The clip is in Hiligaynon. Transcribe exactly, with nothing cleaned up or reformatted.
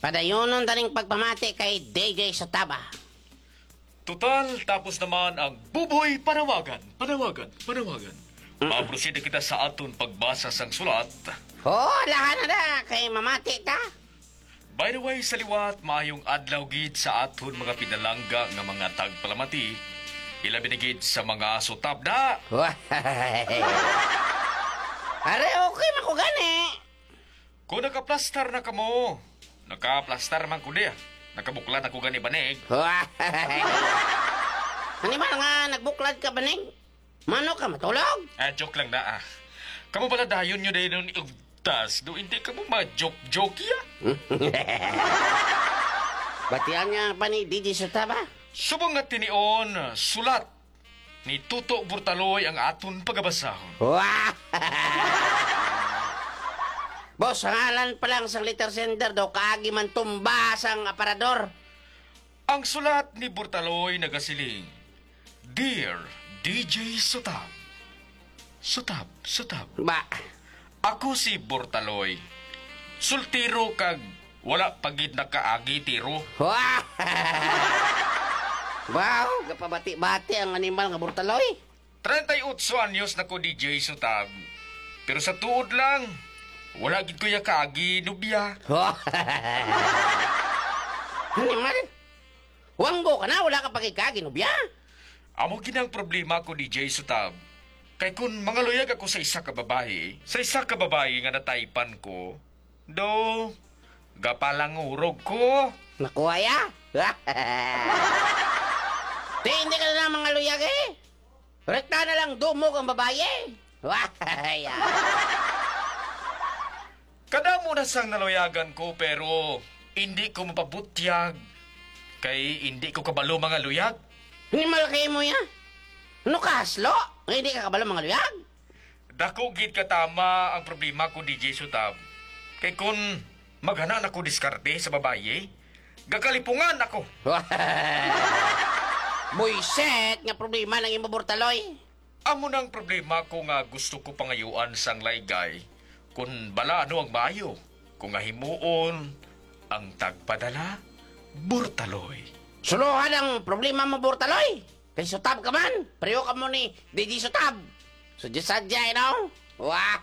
Padayonon ta ning pagpamati kay D J Sotaba. Total, tapos naman ang Buboy Panawagan, Panawagan, Panawagan. Mm. Maproceed na kita sa aton pagbasa sang sulat. Oo, alahan na na, kay mamati ta. By the way, sa liwat, maayong adlaw gid sa aton mga pinalangga nga mga tagpalamati, ilabi na gid sa mga sutab na. Are, okay man ko gani. Kung nakaplastar na kamo, nakaplastar man ko diya. Nakabuklad ako gani banig. Animal nga nagbuklad ka banig? Mano ka matulog? Ah, joke lang na ah. Kamo pala dayon nyo dayon ni ugtas, do hindi kamo ma-joke-joke ya? Batian nga pa ni D J Sotaba? Subong nga tinion, sulat ni Tuto Burtaloy ang aton pagabasahon. Wah! Boss, sa ngalan pa lang sang letter sender daw kaagi man tumba sang aparador. Ang sulat ni Burtaloy nagasiling, "Dear D J Sutab, Sutab, Sutab. Ba? Ako si Burtaloy. Sultiro kag wala pa gid nakaagi tiro." Wah! Wow, gapabati-bati ang animal nga Burtaloy. Treinta y ocho anyos na ko, D J Sutab. Pero sa tuod lang, wala gid ko ya kaagi nubya. Animal? Wanggo ka na, wala ka pa gid kaagi nubya? Amo gid ang problema ko, D J Sutab. Kay kun mangaluyag ako sa isa ka babayi, sa isa ka babayi nga nataypan ko, do, gapalangurog ko. Nakuha ya? Di, hindi ka na mangaluyag eh. Rekta na lang dumog ang babayi. Wah! Kadamo na sang naluyagan ko, pero hindi ko mapabutyag. Kay hindi ko kabalo mangaluyag. Animal kay mo ya? Ano ka, haslo? Nga hindi ka kabalo mangaluyag? Dako gid ka tama ang problema ko, D J Sutab. Kay kun maghana na ko diskarte sa babayi, gakalipungan ako. Buiset nga problema nang imo, Burtaloy. Amo nang problema ko nga gusto ko pangayuan sang laygay kun bala ano ang maayo ko nga himuon ang tagpadala, Burtaloy. Suluhan ang problema mo, Burtaloy. Kay Sutab ka man. Pareho ka mo ni D J Sutab. Sadya-sadya, you know? Wah!